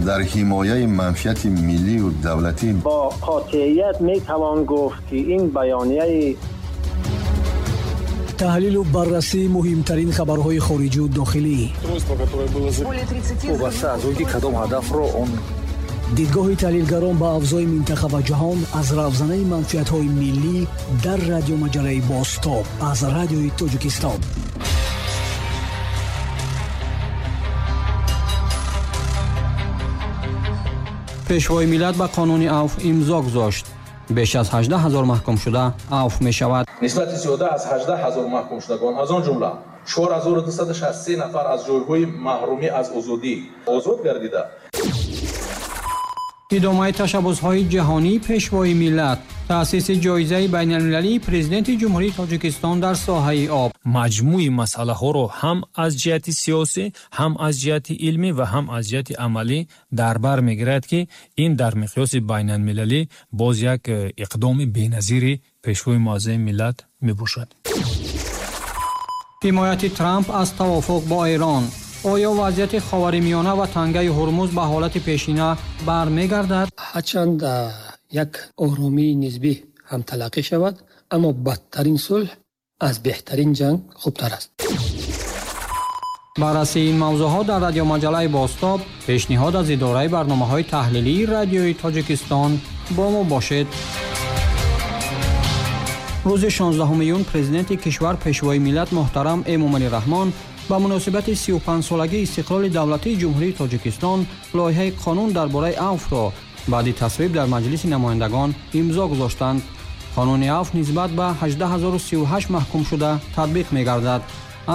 Дар ҳимояи манфиати миллию давлатӣ бо қотеият метавон гуфт, ки ин баёнияи таҳлилу баррасии муҳимтарин хабарҳои хориҷию дохилӣ, вобаста аз он ки кадом ҳадафро он дидгоҳи таҳлилгарон ба авзои минтақа ва ҷаҳон аз равзанаи манфиатҳои миллӣ дар радиомаҷалаи «Бозтоб» аз Радиои Тоҷикистон. Пешвои миллат ба қонуни авф имзо гузошт. Беш аз 18 ҳазор маҳкумшуда авф мешавад. Нисбати зиёда аз 18 ҳазор маҳкумшудагон, аз он ҷумла 4263 нафар аз ҷойҳои маҳрумӣ аз озодӣ озод гардида. Идомаи ташаббусҳои ҷаҳонии Пешвои миллат, таъсиси ҷоизаи байналмилалии Президенти Ҷумҳурии Тоҷикистон дар соҳаи об. Маҷмӯи масъалаҳоро ҳам аз ҷиҳати сиёсӣ, ҳам аз ҷиҳати илмӣ ва ҳам аз ҷиҳати амалӣ дар бар мегирад, ки ин дар миқёси байналмилалӣ боз як иқдоми беназири Пешвои муаззами миллат мебошад. Ҳимояти Трамп аз тавофуқ бо Эрон. Оё вазъияти Ховари Миёна ва Тангаи Ҳурмуз ба ҳолати пешина бармегардад? Ҳарчанд як оромии нисбӣ ҳам талаққӣ шавад, аммо бадтарин сулҳ аз беҳтарин ҷанг хубтар аст. Баррасии ин мавзӯъҳо дар радиомаҷалаи «Бозтоб», пешниҳод аз идораи барномаҳои таҳлилии Радиои Тоҷикистон. Бо мо бошед. Рӯзи 16 июн Президенти кишвар, Пешвои миллат муҳтарам Эмомалӣ Раҳмон ба муносибати 35-солагии истиқлоли давлатии Ҷумҳурии Тоҷикистон лоиҳаи қонун дар бораи авфро баъди тасвиб дар Маҷлиси намояндагон имзо гузоштанд. Қонуни авф нисбат ба 18038 маҳкумшуда татбиқ мегардад.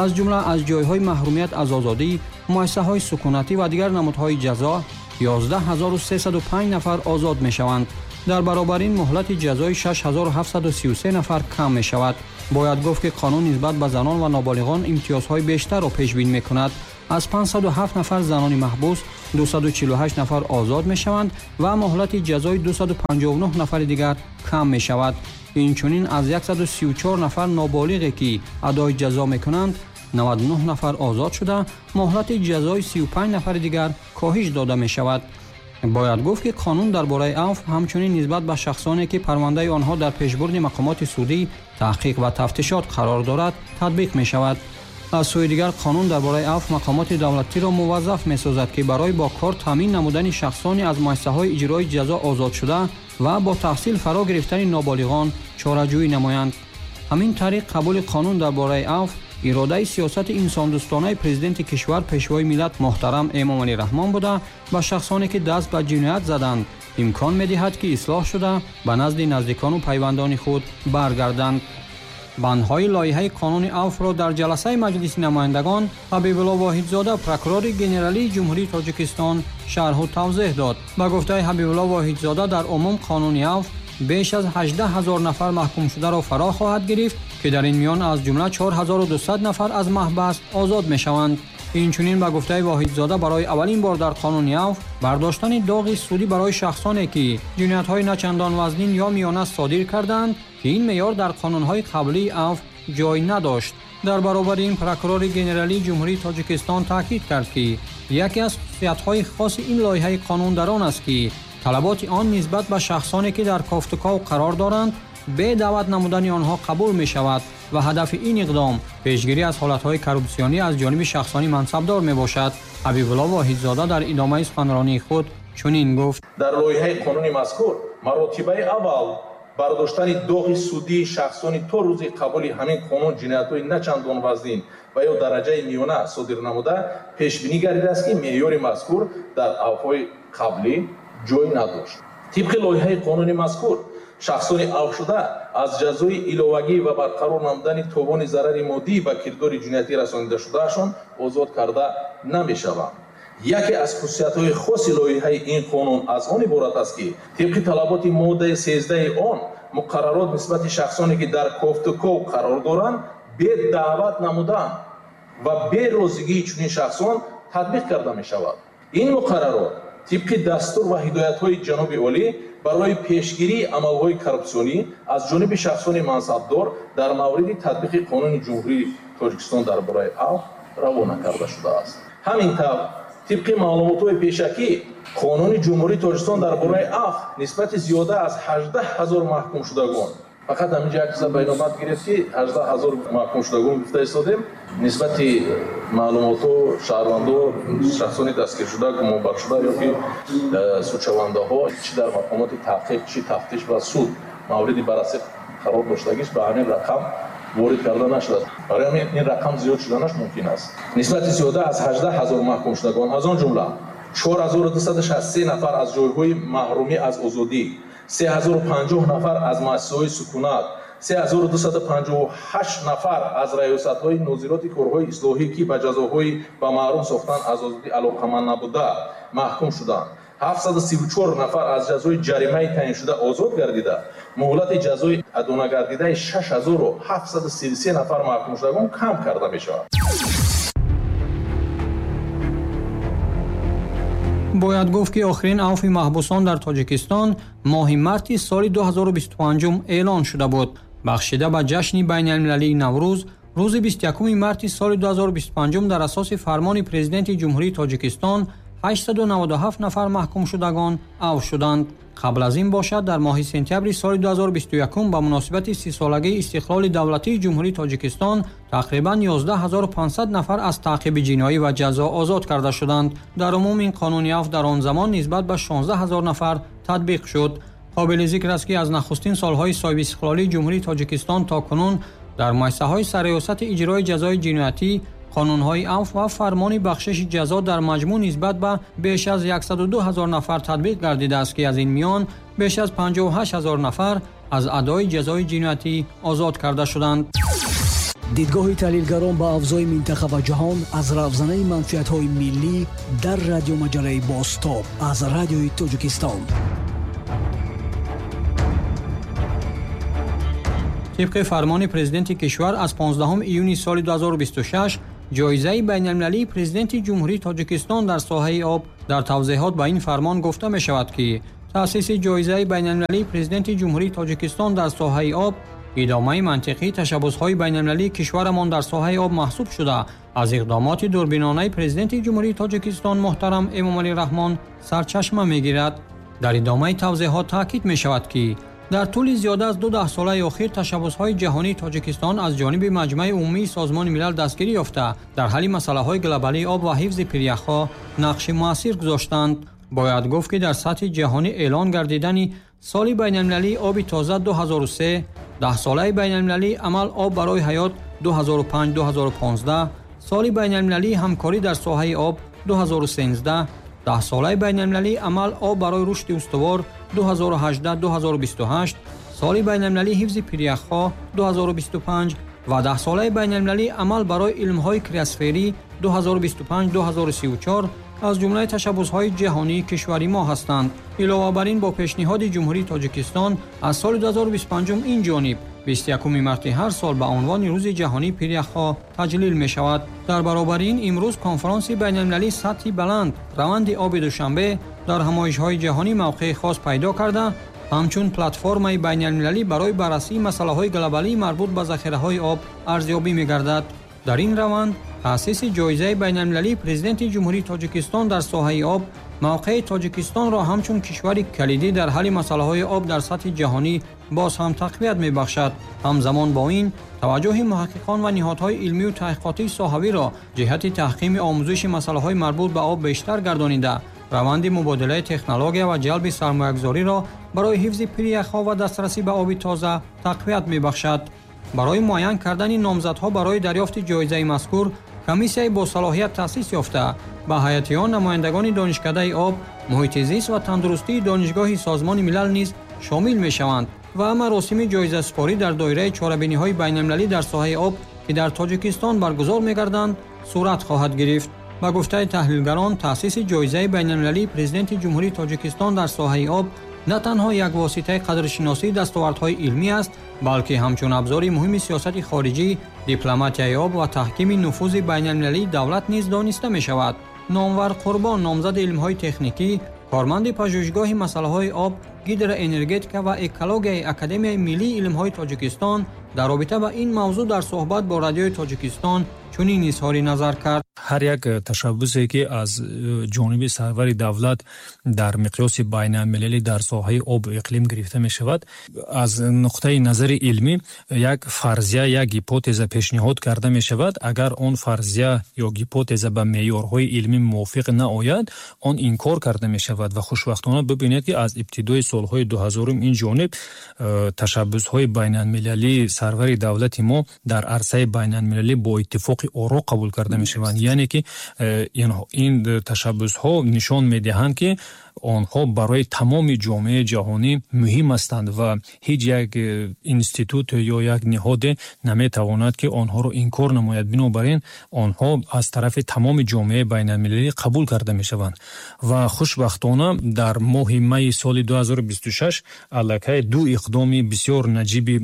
Аз ҷумла аз ҷойҳои маҳрумият аз озодӣ, муассисаҳои сукунатӣ ва дигар намудҳои ҷазо 11305 нафар озод мешаванд. Дар баробар ин муҳлати ҷазои 6733 нафар кам мешавад. Бояд гуфт, ки қонун нисбат ба занон ва ноболиғон имтиёзҳои бештарро пешбин мекунад. Аз 507 нафар занони маҳбус 248 нафар озод мешаванд ва муҳлати ҷазои 259 нафари дигар кам мешавад. Инчунин аз 134 нафар ноболиғе, ки адои ҷазо мекунанд, 99 нафар озод шуда, муҳлати ҷазои 35 нафари дигар коҳиш дода мешавад. Бояд гуфт, ки қонун дар бораи авф ҳамчунин нисбат ба шахсоне, ки парвандаи онҳо дар пешбурди мақомоти судӣ, таҳқиқ ва тафтишот қарор дорад, татбиқ мешавад. Аз сӯи дигар, қонун дар бораи авф мақомоти давлатиро муваззаф месозад, ки барои бо кор таъмин намудани шахсоне аз муассисаҳои иҷрои ҷазо озодшуда ва бо таҳсил фаро гирифтани ноболиғон чораҷӯӣ намоянд. Ҳамин тариқ, қабули қонун дар бораи авф иродаи сиёсати инсондӯстонаи Президенти кишвар, Пешвои миллат муҳтарам Эмомалӣ Раҳмон буда, ба шахсоне, ки даст ба ҷиноят заданд, имкон медиҳад, ки ислоҳ шуда ба назди наздикону пайвандони худ баргарданд. Бандҳои лоиҳаи қонуни авфро дар ҷаласаи Маҷлиси намояндагон Ҳабибулло Воҳидзода, прокурори генералии Ҷумҳурии Тоҷикистон, шарҳу тавзеҳ дод. Ба гуфтаи Ҳабибулло Воҳидзода, дар умум қонуни авф беш аз 18 ҳазор нафар маҳкумшударо фаро хоҳад гирифт, ки дар ин миён аз ҷумла 4200 нафар аз маҳбас озод мешаванд. Инчунин, ба гуфтаи Воҳидзода, барои аввалин бор дар қонуни авф бардоштани доғи судӣ барои шахсоне, ки ҷиноятҳои начандон вазнин ё миёна содир карданд, ки ин меъёр дар қонунҳои қаблии авф ҷой надошт. Дар баробари ин прокурори генералии Ҷумҳурии Тоҷикистон таъкид кард, ки яке аз хусусиятҳои хоси ин лоиҳаи қонун дар он аст, ки талаботи он нисбат ба шахсоне, ки дар кофтуков қарор доранд, бе даъват намудани онҳо қабул мешавад ва ҳадафи ин иқдом пешгирӣ аз ҳолатҳои коррупсионӣ аз ҷониби шахсони мансабдор мебошад. Ҳабибулло Воҳидзода дар идомаи суханронии худ чунин гуфт: Дар лоиҳаи қонуни мазкур маротибаи аввал бардоштани доғи судии шахсони то рӯзи қабули ҳамин қонун ҷиноятҳои начандон вазнин ва ё дараҷаи миёна содир намуда пешбинӣ гардидааст, ки меъёри мазкур дар авфҳои қаблӣ ҷой надошт. Тибқи лоиҳаи қонуни мазкур, шахсони авфшуда аз ҷазои иловагӣ ва барқарор намудани товони зарари моддӣ ба кирдори ҷиноятӣ расонидашудаашон озод карда намешаванд. Яке аз хусусиятҳои хоси лоиҳаи ин қонун аз он иборат аст, ки тибқи талаботи моддаи 13 он муқаррарот нисбати шахсоне, ки дар кофтуков қарор доранд, бе даъват намудан ва бе розигии чунин шахсон татбиқ карда мешавад. Ин муқаррарот тибқи дастур ва ҳидоятҳои ҷаноби олӣ барои пешгирии амалҳои коррупсионӣ аз ҷониби шахсони мансабдор дар мавриди татбиқи Қонуни Ҷумҳурии Тоҷикистон дар бораи авф равона карда шудааст. Ҳамин тавр, Тибқи маълумотҳои пешакӣ, Қонуни Ҷумҳурии Тоҷикистон дар бораи афв нисбати зиёда аз 18 ҳазор маҳкумшудагон, фақат ҳаминҷа як чиза ба инобат гирифт, ки 18 ҳазор маҳкумшудагон гуфта истодем, нисбати маълумотҳо шаҳрвандо, шахсони дастгиршуда, гумонбаршуда ё ки судшавандаҳо, чӣ дар мақомоти таҳқиқ, чӣ тафтиш ва суд мавриди баррасӣ қарор доштагиш ба ҳамин рақам ворид карда нашудааст. Барои ҳамин ин рақам зиёд шуданаш мумкин аст. Нисбати зиёда аз 18 ҳазор маҳкумшудагон, аз он ҷумла 4263 нафар аз ҷойҳои маҳрумӣ аз озодӣ, 3050 нафар аз муассисаҳои сукунат, 3258 нафар аз раёсатҳои нозироти корҳои ислоҳӣ, ки ба ҷазоҳои ба маҳрум сохтан аз озодӣ алоқаманд набуда, маҳкум шуданд. 734 нафар аз ҷазои ҷаримаи таъиншуда озод гардида, муҳлати ҷазои адонагардидаи 6733 нафар маҳкумшудагон кам карда мешавад. Бояд гуфт, ки охирин авфи маҳбусон дар Тоҷикистон моҳи марти соли 2025 эълон шуда буд. Бахшида ба ҷашни байналмилалии Наврӯз, рӯзи 21 марти соли 2025 дар асоси фармони Президенти Ҷумҳурии Тоҷикистон 897 нафар маҳкумшудагон авф шуданд. Қабл аз ин бошад, дар моҳи сентябри соли 2021 ба муносибати 30-солагии истиқлоли давлатии Ҷумҳурии Тоҷикистон тақрибан 11500 нафар аз таъқиби ҷиноӣ ва ҷазо озод карда шуданд. Дар умум ин қонуни афв дар он замон нисбат ба 16000 нафар татбиқ шуд. Қобили зикр аст, ки аз нахустин солҳои соҳибистиқлолии Ҷумҳурии Тоҷикистон то кунун дар муассисаҳои сарриёсати иҷрои ҷазои ҷиноятӣ қонунҳои афв ва фармони бахшиши ҷазо дар маҷмӯъ нисбат ба беш аз 102 ҳазор нафар татбиқ гардидааст, ки аз ин миён беш аз 58 ҳазор нафар аз адои ҷазои ҷиноятӣ озод карда шуданд. Дидгоҳи таҳлилгарон ба авзои минтақа ва ҷаҳон аз равзанаи манфиатҳои миллӣ дар радиомаҷалаи Бозтоб аз Радиои Тоҷикистон. Тибқи фармони Президенти кишвар аз 15 июни соли 2026 ҷоизаи байналмилалии Президенти Ҷумҳурии Тоҷикистон дар соҳаи об. Дар тавзеҳот ба ин фармон гуфта мешавад, ки таъсиси ҷоизаи байналмилалии Президенти Ҷумҳурии Тоҷикистон дар соҳаи об идомаи мантиқии ташаббусҳои байналмилалии кишварамон дар соҳаи об маҳсуб шуда, аз иқдомоти дурбинонаи Президенти Ҷумҳурии Тоҷикистон муҳтарам Эмомалӣ Раҳмон сарчашма мегирад. Дар идомаи тавзеҳот таъкид мешавад, ки дар тӯли зиёда аз 2 даҳсолаи охир ташаббусҳои ҷаҳонии Тоҷикистон аз ҷониби Маҷмаи Умумии Созмони Милал дастгирӣ ёфта, дар ҳалли масъалаҳои глобалии об ва ҳифзи пиряхҳо нақши муассир гузоштанд. Бояд гуфт, ки дар сатҳи ҷаҳонӣ эълон гардидани соли байналмилалии оби тоза 2003, даҳсолаи байналмилалии амал об барои ҳаёт 2005-2015, соли байналмилалии ҳамкорӣ дар соҳаи об 2013, даҳсолаи байналмилалии амал об барои рушди устувор 2018-2028, соли байналмилалии ҳифзи пиряхҳо 2025 ва даҳсолаи байналмилалии амал барои илмҳои криосферӣ 2025-2034 аз ҷумлаи ташаббусҳои ҷаҳонии кишвари мо ҳастанд. Илова бар ин, бо пешниҳоди Ҷумҳурии Тоҷикистон аз соли 2025 ин ҷониб 21 марти ҳар сол ба унвони Рӯзи ҷаҳонии пиряхҳо таҷлил мешавад. Дар баробари ин имрӯз конфронси байналмилалии сатҳи баланд раванди оби Душанбе дар ҳамоишҳои ҷаҳонӣ мавқеи хос пайдо карда, ҳамчун платформаи байналмилалӣ барои баррасии масъалаҳои глобалии марбут ба захираҳои об арзёбӣ мегардад. Дар ин раванд таъсиси ҷоизаи байналмилалии Президенти Ҷумҳурии Тоҷикистон дар соҳаи об мавқеи Тоҷикистонро ҳамчун кишвари калидӣ дар ҳалли масъалаҳои об дар сатҳи ҷаҳонӣ боз ҳам тақвият мебахшад. Ҳамзамон бо ин таваҷҷӯҳи муҳаққиқон ва ниҳодҳои илмию таҳқиқотии соҳавиро ҷиҳати таҳкими омӯзиши масъалаҳои марбут ба об бештар гардонида, раванди мубодилаи технология ва ҷалби сармоягузориро барои ҳифзи пиряхҳо ва дастрасӣ ба оби тоза тақвият мебахшад. Барои муайян кардани номзадҳо барои дарёфти ҷоизаи мазкур комиссияи босалоҳият таъсис ёфта, ба ҳайати он намояндагони Донишкадаи об, муҳити зист ва тандурустии Донишгоҳи Созмони Милал низ шомил мешаванд ва маросими ҷоизасупорӣ дар доираи чорабиниҳои байналмилалӣ дар соҳаи об, ки дар Тоҷикистон баргузор мегарданд, сурат хоҳад гирифт. Ба гуфтаи таҳлилгарон, таъсиси ҷоизаи байналмилалии Президенти Ҷумҳурии Тоҷикистон дар соҳаи об на танҳо як воситаи қадршиносии дастовардҳои илмӣ аст, балки ҳамчун абзори муҳими сиёсати хориҷӣ, дипломатияи об ва таҳкими нуфузи байналмилалии давлат низ дониста мешавад. Номвар Қурбон, номзади илмҳои техникӣ, корманди пажӯҳишгоҳи масъалаҳои об, гидроэнергетика ва экологияи Академияи миллии илмҳои Тоҷикистон дар робита ба ин мавзӯъ дар суҳбат бо Радиои Тоҷикистон чунин изҳори назар кард. Ҳар як ташаббусе, ки аз ҷониби сарвари давлат дар миқёси байналмилалӣ дар соҳаи обу иқлим гирифта мешавад, аз нуқтаи назари илмӣ як фарзия, як гипотеза пешниҳод карда мешавад. Агар он фарзия ё гипотеза ба меъёрҳои илмӣ мувофиқ наояд, он инкор карда мешавад. Ва хушбахтона бибинед, ки аз ибтидои солҳои 2000-ум ин ҷониб ташаббусҳои байналмилалии сарвари давлати мо дар арсаи байналмилалӣ бо иттифоқи оро қабул карда мешаванд. Яъне ки ин ташаббусҳо нишон медиҳанд, ки онҳо барои тамоми ҷомеаи ҷаҳонӣ муҳим ҳастанд ва ҳеҷ як институт ё як ниҳоде наметавонад, ки онҳоро инкор намояд. Бинобар ин онҳо аз тарафи тамоми ҷомеаи байналмилалӣ қабул карда мешаванд. Ва хушбахтона дар моҳи майи соли 2026 аллакай ду иқдоми бисёр наҷиби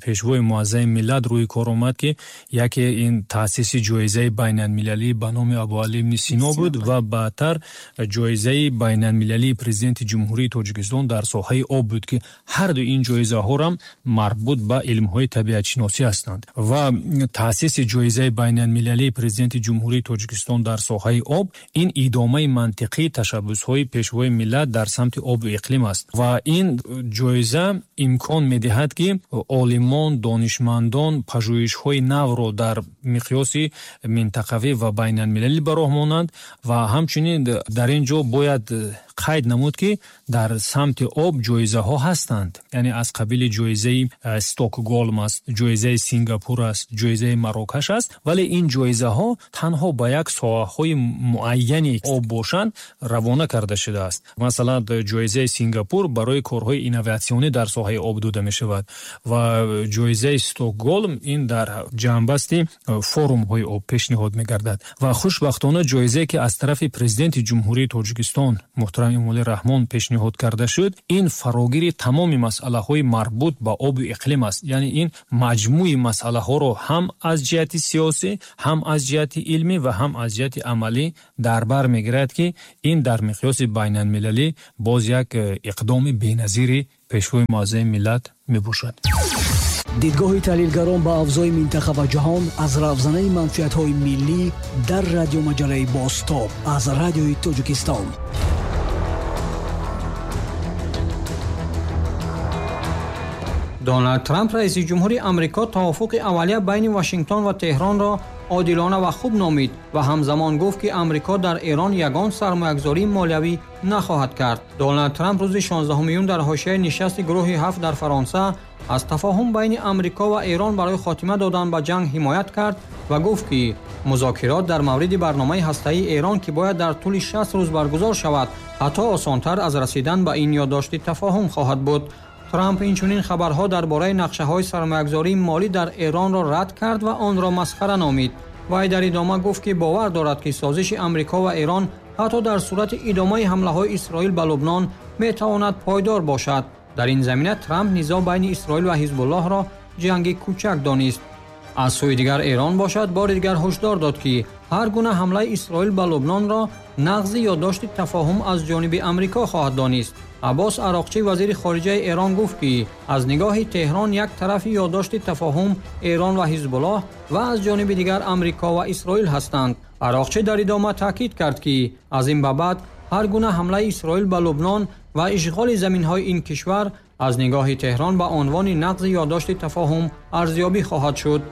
Пешвои муаззами миллат рӯи кор омад, ки яке ин таъсиси ҷоизаи байналмилалӣ ба номи Абуалӣ ибни Сино буд ва баъдтар ҷоизаи байналмилалии Президенти Ҷумҳурии Тоҷикистон дар соҳаи об буд, ки ҳарду ин ҷоизаҳорам марбут ба илмҳои табиатшиносӣ ҳастанд. Ва таъсиси ҷоизаи байналмилалии Президенти Ҷумҳурии Тоҷикистон дар соҳаи об ин идомаи мантиқии ташаббусҳои Пешвои миллат дар самти обу иқлим аст. Ва ин ҷоиза имкон медиҳад, ки олимон, донишмандон пажӯҳишҳои навро дар миқёси минтақавӣ ва байналмилалӣ ба роҳ монанд. Ва ҳамчунин дар ин ҷо бояд қайд намуд, ки дар самти об ҷоизаҳо ҳастанд, яъне аз қабили ҷоизаи Стокголм аст, ҷоизаи Сингапур аст, ҷоизаи Марокаш аст, вале ин ҷоизаҳо танҳо ба як соҳаҳои муайяни об бошанд равона карда шудааст. Масалан, ҷоизаи Сингапур барои корҳои инноватсионӣ дар соҳаи об дода мешавад ва ҷоизаи Стокголм ин дар ҷамъбасти форумҳои об пешниҳод мегардад. Ва хушбахтона ҷоизае, ки аз тарафи Президенти Ҷумҳурии Тоҷикистон муҳтарам Эмомалӣ Раҳмон пешниҳод карда шуд, ин фарогири тамоми масъалаҳои марбут ба обу иқлим аст. Яъне ин маҷмӯи масъалаҳоро ҳам аз ҷиҳати сиёсӣ, ҳам аз ҷиҳати илмӣ ва ҳам аз ҷиҳати амалӣ дар бар мегирад, ки ин дар миқёси байналмилалӣ боз як иқдоми беназири Пешвои муаззами миллат мебошад. Дидгоҳи таҳлилгарон ба авзои минтақа ва ҷаҳон аз равзанаи манфиатҳои миллӣ дар радиомаҷалаи «Бозтоб» аз Радиои Тоҷикистон. Доналд Трамп, раиси ҷумҳури Амрико, тавофуқи аввалия байни Вашингтон ва Теҳронро одилона ва хуб номид ва ҳамзамон гуфт, ки Амрико дар Эрон ягон сармоягузории молиявӣ нахоҳад кард. Доналд Трамп рӯзи 16 июн дар ҳошияи нишасти гурӯҳи ҳафт дар Фаронса аз тафоҳум байни Амрико ва Эрон барои хотима додан ба ҷанг ҳимоят кард ва гуфт, ки музокирот дар мавриди барномаи ҳастаии Эрон, ки бояд дар тӯли 60 рӯз баргузор шавад, ҳатто осонтар аз расидан ба ин ёддошти тафоҳум хоҳад буд. Трамп инчунин хабарҳо дар бораи нақшаҳои сармоягузории молӣ дар Эронро рад кард ва онро масхара номид. Вай дар идома гуфт, ки бовар дорад, ки созиши Амрико ва Эрон ҳатто дар сурати идомаи ҳамлаҳои Исроил ба Лубнон метавонад пойдор бошад. Дар ин замина Трамп низоъ байни Исроил ва Ҳизбуллоҳро ҷанги кӯчак донист. Аз сӯи дигар, Эрон бошад, бори дигар ҳушдор дод, ки ҳар гуна ҳамлаи Исроил ба Лубнонро нақзи ёддошти тафоҳум аз ҷониби Амрико хоҳад донист. Аббос Ароқчӣ, вазири хориҷаи Эрон, гуфт, ки аз нигоҳи Теҳрон як тарафи ёддошти тафоҳум Эрон ва Ҳизбуллоҳ ва аз ҷониби дигар Амрико ва Исроил ҳастанд. Ароқчӣ дар идома таъкид кард, ки аз ин ба баъд ҳар гуна ҳамлаи Исроил ба Лубнон ва ишғоли заминҳои ин кишвар аз нигоҳи Теҳрон ба унвони нақзи ёддошти тафоҳум арзёбӣ хоҳад шуд.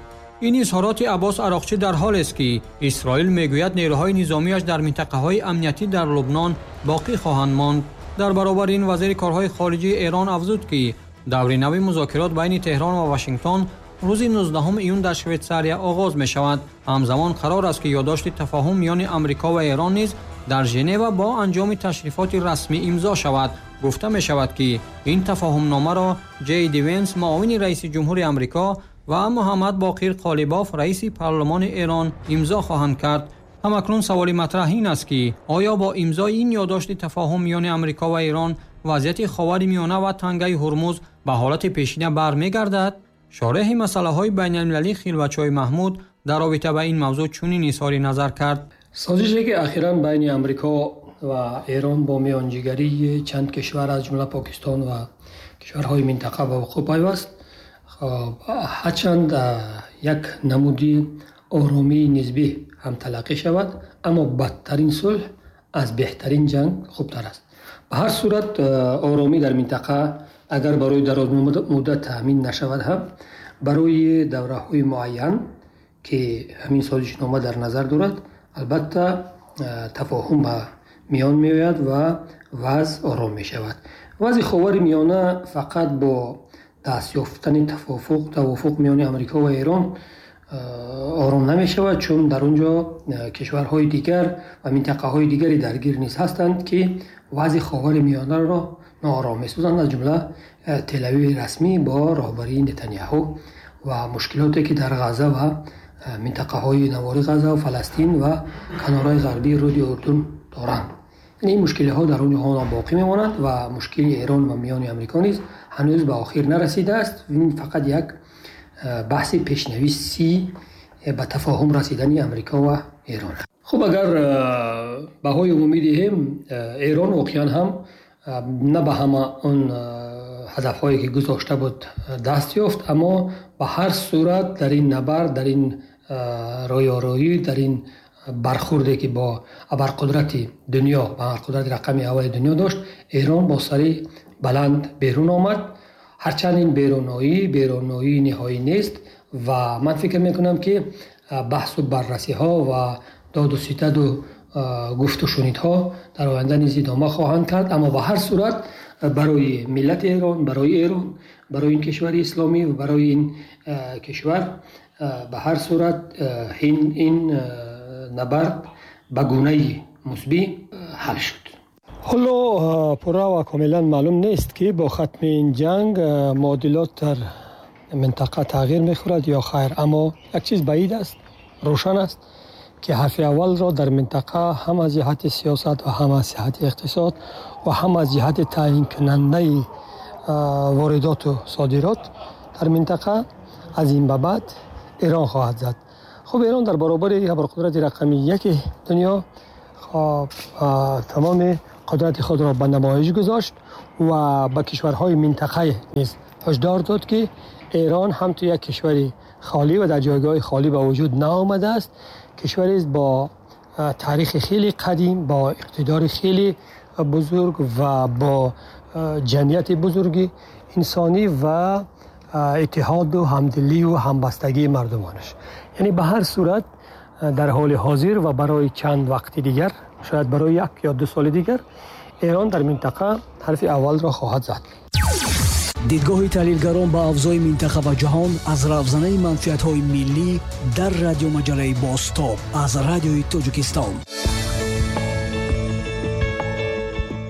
Ин изҳороти Аббос Ароқчӣ дар ҳолест, ки Исроил мегӯяд, нерӯҳои низомиаш дар минтақаҳои амниятӣ дар Лубнон боқӣ хоҳанд монд. Дар баробари ин, вазири корҳои хориҷии Эрон афзуд, ки даври нави музокирот байни Теҳрон ва Вашингтон рӯзи 19 июн дар Швейтсария оғоз мешавад. Ҳамзамон қарор аст, ки ёддошти тафоҳум миёни Амрико ва Эрон низ дар Женева бо анҷоми ташрифоти расмӣ имзо шавад. Гуфта мешавад, ки ин тафоҳумномаро Ҷей Ди Венс, муовини раиси ҷумҳури Амрико, ва Муҳаммад Боқир Қолибоф, раиси парлумони Эрон, имзо хоҳанд кард. Ҳамакнун саволи матраҳ ин аст, ки оё бо имзои ин ёддошти тафоҳум миёни Амрико ва Эрон вазъияти Ховари Миёна ва тангаи Ҳурмуз ба ҳолати пешина бармегардад? Шореҳи масъалаҳои байналмилалӣ Хилватчои Маҳмуд дар робита ба ин мавзӯъ чунин изҳори назар кард. Созише, ки ахиран байни Амрико ва Эрон бо миёнҷигарии чанд кишвар, аз ҷумла Покистон ва кишварҳои минтақа, ба вуқӯъ пайваст, ҳарчанд як намуди оромии нисбӣ ҳам талаққӣ шавад, Аммо бадтарин сулҳ аз беҳтарин ҷанг хубтар аст. Ба ҳар сурат оромӣ дар минтақа агар барои дарозмуддат таъмин нашавад ҳам, барои давраҳои муайян ки ҳамин созишнома дар назар дорад, албатта тафоҳум ба миён меояд ва вазъ ором мешавад. Вазъи Ховари Миёна фақат бо даст ёфтани тавофуқ миёни Амрико ва Эрон ором намешавад, чун дар он ҷо кишварҳои дигар ва минтақаҳои дигари даргир низ ҳастанд, ки вазъи Ховари Миёнаро ноором месозанд, аз ҷумла Телавиви расмӣ бо роҳбарии Нетаняҳу ва мушкилоте ки дар Ғаза ва минтақаҳои навори Ғаза ва Фаластин ва канораи ғарбии рӯди Урдун доранд. Яъне ин мушкилиҳо дар он ҷо боқӣ мемонанд ва мушкили Эрон ва миёни Амрико низ ҳанӯз ба охир нарасидааст. Ин фақат як баҳси пешнависи ба тафоҳум расидани Амрико ва Эрон. Хуб, агар баҳои умумӣ диҳем, Эрон воқеан ҳам на ба ҳама он ҳадафҳое ки гузошта буд даст ёфт, аммо ба ҳар сурат дар ин набард, дар ин рӯёрӯӣ, дар ин бархурде ки бо абарқудрати дунё, ба абарқудрати рақами аввали дунё дошт, Эрон бо сари баланд берун омад. Ҳарчанд ин беруноии ниҳоӣ нест ва ман фикр мекунам ки баҳсу баррасиҳо ва доду ситаду гуфту шунидҳо дар оянда низ идома хоҳанд кард, аммо ба ҳар сурат барои миллати Эрон, барои Эрон, барои ин кишвари исломӣ ва барои ин кишвар ба ҳар сурат ин набард ба гунаи мусбӣ ҳал шуд. Ҳоло пурра ва комилан маълум нест ки бо хатми ин ҷанг муодилот дар минтақа тағйир мехӯрад ё хайр, аммо як чиз баъид аст, рӯшан аст ки ҳарфи аввалро дар минтақа ҳам аз ҷиҳати сиёсат ва ҳам аз ҷиҳати иқтисод ва ҳам аз ҷиҳати таъйинкунандаи воридоту содирот дар минтақа аз ин ба баъд Эрон хоҳад зад. Хуб, Эрон дар баробари абарқудрати рақами яки дунё тамоми қудрати худро ба намоиш гузошт ва ба кишварҳои минтақа низ ҳушдор дод ки Эрон ҳам ту як кишвари холӣ ва дар ҷойгоҳи холӣ ба вуҷуд наомадааст, кишварест бо таърихи хеле қадим, бо иқтидори хеле бузург ва бо ҷамъияти бузурги инсонӣ ва иттиҳоду ҳамдилию ҳамбастагии мардумонаш. Яъне ба ҳар сурат дар ҳоли ҳозир ва барои чанд вақти дигар, шояд барои як ё ду соли дигар, Эрон дар минтақа ҳарфи аввалро хоҳад зад. Дидгоҳи таҳлилгарон ба авзои минтақа ва ҷаҳон аз равзанаи манфиатҳои миллӣ дар радиомаҷалаи Бозтоб аз Радиои Тоҷикистон.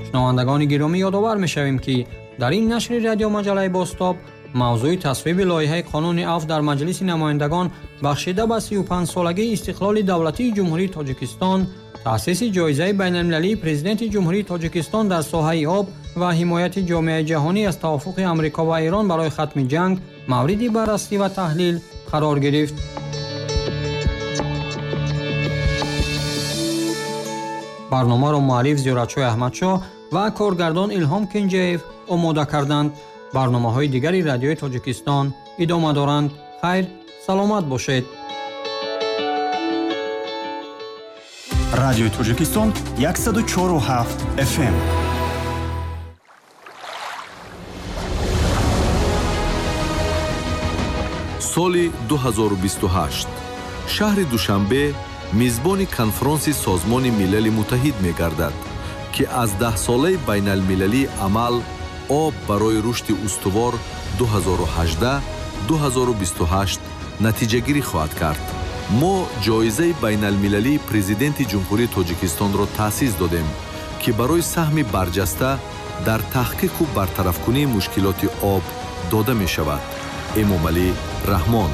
Шунавандагони гиромӣ, ёдовар мешавем ки дар ин нашри радиомаҷалаи Бозтоб мавзӯи тасвиби лоиҳаи қонуни афв дар Маҷлиси намояндагон бахшида ба 35-солагии истиқлоли давлатии Ҷумҳурии Тоҷикистон, таъсиси ҷоизаи байналмилалии Президенти Ҷумҳурии Тоҷикистон дар соҳаи об ва ҳимояти ҷомеаи ҷаҳонӣ аз тавофуқи Амрико ва Эрон барои хатми ҷанг мавриди баррасӣ ва таҳлил қарор гирифт. Барномаро муаллиф Зиёратшоҳ Аҳмадшоҳ ва коргардон Илҳом Кенҷаев омода карданд. Барномаҳои дигари Радиои Тоҷикистон идома доранд. Хайр, саломат бошед. Радиои Тоҷикистон 104,7 FM. Соли 2028 шаҳри Душанбе мизбони конфронси Созмони Милали Муттаҳид мегардад, ки аз даҳсолаи байналмилалии амал об барои рушди устувор 2018-2028 натиҷагирӣ хоҳад кард. Мо ҷоизаи байналмилалии Президенти Ҷумҳурии Тоҷикистонро таъсис додем, ки барои саҳми барҷаста дар таҳқиқу бартарафкунии мушкилоти об дода мешавад. Эмомалӣ Раҳмон.